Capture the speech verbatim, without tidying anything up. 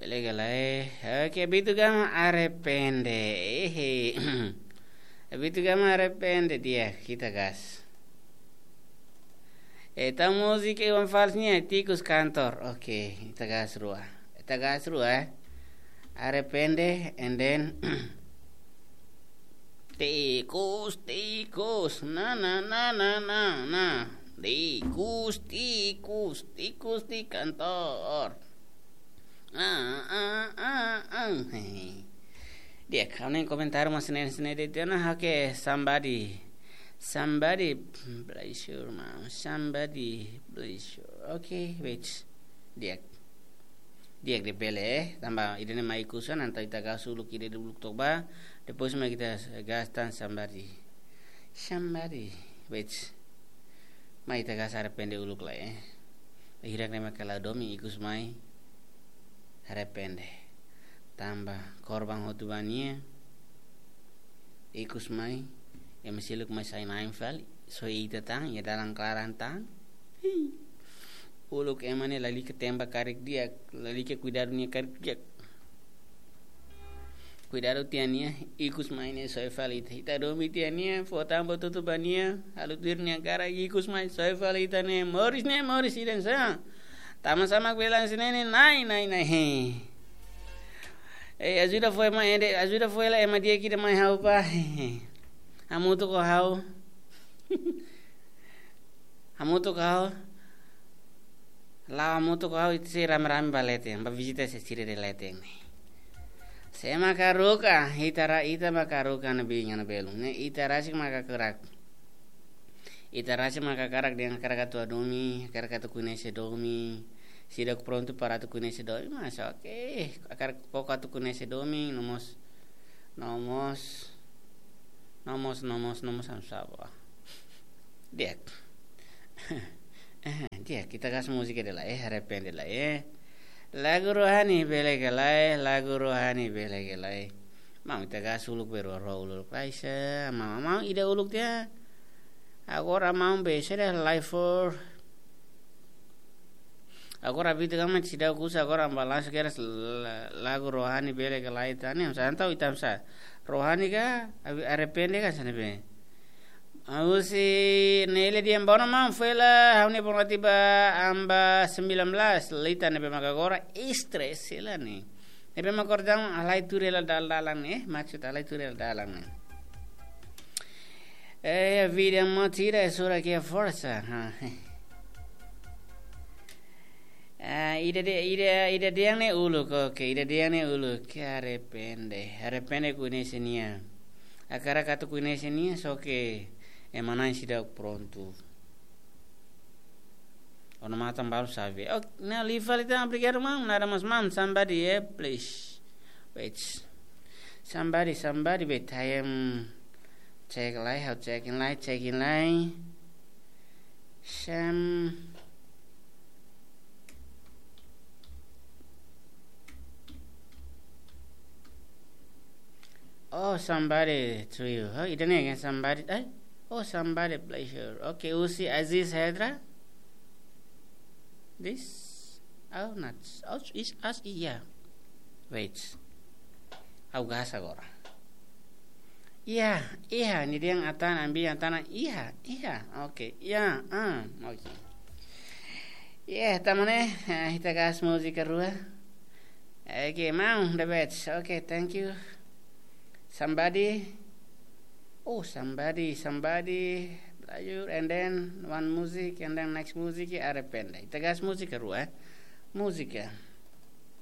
Lega lai. Oke, Bitu Gama arrepende. Ehe. Bitu Gama arrepende, di'ak, ita gas. Ita múzika Iwan Fals nian, Tikus Kantor. Oke, ita gas rua. Ita gas rua, eh. Arrepende, and then tikus, tikus, na, na, na, na, na, na. Tikus, tikus, tikus di kantor. Ah, ah, ah, ah. Hehe. Di'ak, ha'u-nia komentáriu mak ne'e, ne'e de'it ona, oke, somebody. Somebody, pleasure, ma. Somebody, pleasure. Oke, wait. Di'ak. Di'ak, di'ak, bele, eh. Tanba ida-ne'e mai ikus an, entaun ita gas uluk ida, uluk to'o ba. Depois mai ita gas tan somebody. Somebody. Wait. Mai ita gas arrepende uluk lai, eh. Hirak ne'e maka la domin, ikus mai arrepende. Tanba korban hotu ba nia. Ikus mai, ema seluk mai sai na'in fali, só ita tan, iha dalan klaran tan. Hii. Uluk ema ne'e lalika temba karik di'ak, lalika kuidadu nia karik di'ak. Kuidadu tiha nia, ikus mai ne'e soe fali ita. Ita domin tiha nia, fó tan buat hotu ba nia, halo tuir nia karik, ikus mai soe fali ita ne'e, moris ne'e, moris ida-ne'e sa. Tama sama bilang sini ne'e, nai, nai, nai, hii. Eh, ajuda foin mai ende, ajuda foin lai ema di'ak ida mai ha'u ba. Hamutuk ho ha'u. Hamutuk ho ha'u. La'o hamutuk ho ha'u, ita sei rame-rame ba leten, ba vizita sira-sira iha leten. Sé maka haruka, ita ra-, ita maka haruka ne'ebé, iha ne'ebé, ne'e ita rasik maka hakarak. Ita rasik maka hakarak dehan hakarak atu domin, hakarak atu koñese domin. Seidauk prontu para atu koñese domin, mas oke. Hakarak koko atu koñese domin, no mós, no mós, no mós, no mós, no mós, am sabo. Di'ak. Eh, di'ak, ita gas múzika ida lai, eh, arrepende lai, eh. Lagu rohani bele ka lae, lagu rohani bele ka lae. Maun, ita gas uluk, bele rua uluk lai sa, maun, maun ida uluk tiha. Agora maun be, sede live for. Agora Bitu Gama seidauk uza, agora balansu keras la-, lagu rohani bele ka lae tiha ne'e, sa entaun ita sa. Rohani ka, abi-, arrepende ka, hanesan ne'ebé. Husi Nele dehan bom maun, foin lai ha'u-nia bom ati ba, am ba sembilan belas, leten ne'ebé maka agora stress hela ne'e. Ne'ebé maka agora daudaun halai tuur hela dalan-dalan ne'e, eh, maksud halai tuur hela dalan ne'e. Eh, vida motira é sura que força. Ah, ida de, ida, ida dehan ne'e uluk, oke, ida dehan ne'e uluk, arrepende. Arrepende koñese nia. Hakarak atu koñese nia, só que ema na'in seidauk prontu. Ona matan balu save. Oh, ne'e liu fali tan, obrigadu maun, nada mais maun, somebody, eh, please. Wait. Somebody, somebody, wait, I am check lai, ha'u check in lai, check in lai. Sam-, oh, somebody to you. Oh, ida-ne'e kan somebody. Eh? Oh, somebody pleasure. Okay, husi Aziz Hedra. This? Oh, not. Oh, it's us, iya. Wait. Ha'u gas agora. Iya, iya, nia dehan atan, ambi atan, iya, iya, oke, iya, ah, oke. Iya, tama ne'e, eh, ita gas múzika rua. Oke, maun, the best. Oke, thank you. Somebody, oh, somebody, somebody, Belayu, and then one music, and then next music, ya, arrepende. Ita gas múzika rua, eh. Múzika.